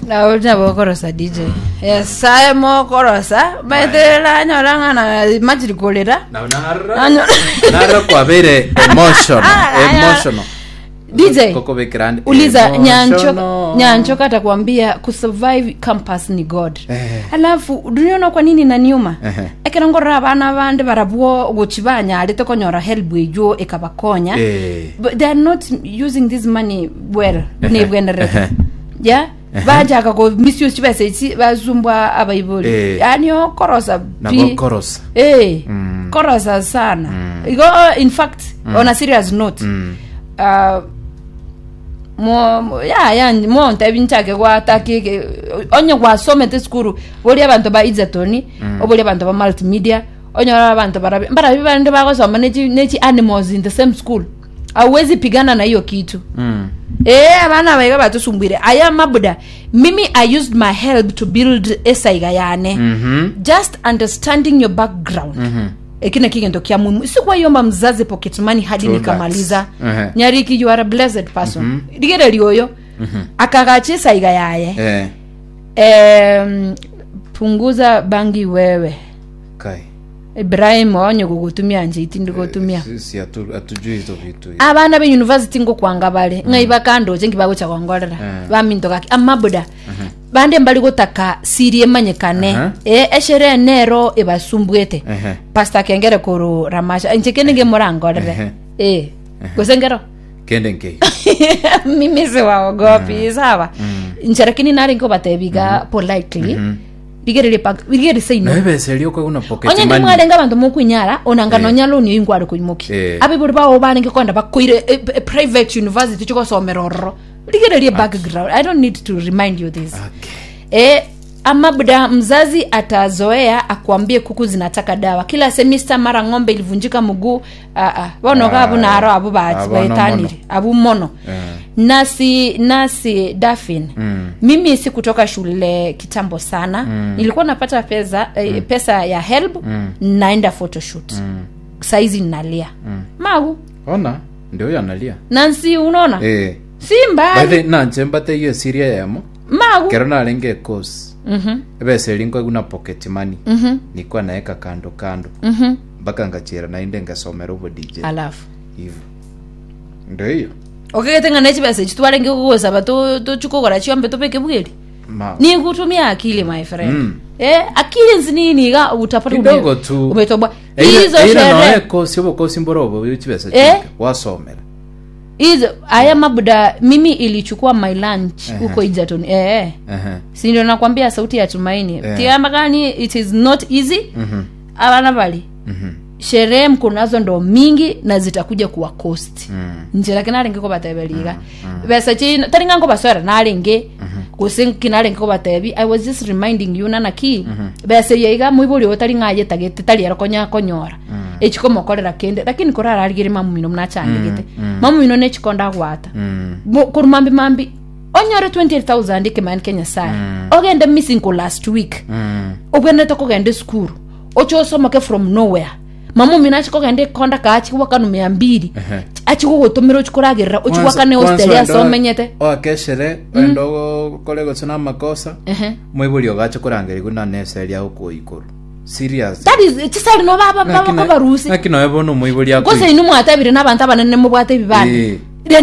Nabo nabo okorosa DJ. Nyasaye mokorosa maete ranyora ng'ana machiri korera. Nabo narora Nanyo- narora kwabeire emotional Ah, aya. emotional DJ. Kokobekera ande Uliza Nyancho emotional. Nyancho atakwambia kusurvive campus ni God. Eh. Alafu duniona kwa nini naniuma? Ehe. Ekero ngorora abana bande barabwo gochi banyarete konyora help eywo ekabakonya. Eh. But they are not using this money well nebwenerete. Ehe. Yeah? Bachaka ko misuse chibesa echi basumbwa abaibori. Eh. Yani okorosa pi. Nabo korosa. Eh, Mm. korosa sana. Igo in fact on a serious note. Mm. Uh, mo mo- ya ya montebi nchake gwataka eke onye gwasomete esukuru boria abanto ba Egerton oborie abanto ba multimedia onyore abanto barabi mbarabi bande bagosoma nechi nechi animals in the same school hauwezi pigana na hiyo kitu Mm. Eh, abana aba iga batusumbuire aya mabuda mimi i used my help to build esaiga yane Mhm. just understanding your background Mhm. eki naki egento kia muhimu sikwayomba mzazi pocket money hadi True nikamaliza that. Ehe. nyariki you are a blessed person rigereria oyo akagacha esaiga yaye Eh. Em, punguza bangi wewe Kai. Ibrahim onye gogotumia nche itindi gotumia Sisi hatu- hatujui hizo vitu. abana be university ngokwanga bare ng'ai bakandoche nki bagocha gongorera Eh. baminto gaki amabuda bande mbari gotaka siri emanyekane Aha. eh, esherehe nero ebasumbuete Ehe. pastor kengere koru ramasha inche kende ngemorangorere Ehe. eh gose ngero Kende nkeiyo. mimi siwaogopi sawa inche lakini nare nkobatebi iga politely rigereria pa rigereria seino Naye besa eria okoigwa pocket onye ndi money. mwarenge abanto mokwinyara onanga Eh. nonya loan eyio nkware koimoki Eh. abaibori bao barenge kogenda bakoire e, e, private university chigosomera ororo rigererie background i don't need to remind you this Okay. Eh, amabuda mzazi atazoea akwambie kuku zinataka dawa kila semester mara ng'ombe ilivunjika mguu ah, ah. bono Ah, gabu naro abu ba- ah, bono baetanire mono. abu mono Eh. nasi nasi dafin Mm. mimi si kutoka shule kitambo sana mm. nilikuwa napata pesa eh, pesa ya help mm. naenda photoshoot mm. saizi nalia mm. magu Ona ndio huyo analia. nansi unaona Eh. si By mbali the nanche mbate iyo siria yamo. magu Kero narenge course. Mhm. Ebesa eria nkoigwa na pocket money. Mhm. Nilikuwa naeka kando kando. Mhm. Mpaka ngachera naende ngasomera obo DJ. alafu Hivyo. Ndio hiyo. okegete ng'a ne chibesa echi twarenge kogosaba to- tochi kogora chiombe tobeke bweri Ma. ni kutumia akili my friend Mm. eh, akili nzinini iga utapata ume- Kidogo tu. umetoboa Eira- hizo eira sherehe noe kosi obokosi mboro obo chibesa Eh? chinke wasomera. hizo haya mabuda mimi ilichukua my lunch huko Egerton eh eh. Ehe. si ndio nakwambia sauti ya tumaini Eh. tiamba gani it is not easy Mhm. abana bali Mhm. sherehe mko nazo ndo mingi na zitakuja kuwa cost Mm. nje lakini narenge kobateberia iga besa chi tari ng'a nkobaswera narenge gose nki narenge kobatebi i was just reminding you nana ki besa eye iga moibori oyo tari ng'a ayetagete tari ero konya konyora echikomokorera kende lakini korararigerie mama omino buna achandegete mama omino ne chikondo agwata Mm. Mo- korwa mambi mambi onyore 28000 ekemani kia nyasaye ogende missing ko last week Mm. obwenerete kogenda esukuru oche osomoke from nowhere mama omino ache kogenda ekonda kaa ache goakana mia mbiri Ehe. ache gogotomera oche koragerera oche goakane Kwanza hostel ase oende omenyete oakeshere oende okore gose na amakosa Ehe. moibori ogache korangerigwa na nese eria okoikorwa serious That is chisari no baba Naki na- bakobarusi naki noe bono omoibori gose akoigwa inwe mwatebire na abanto abanene mobwate ebibande Eh. rende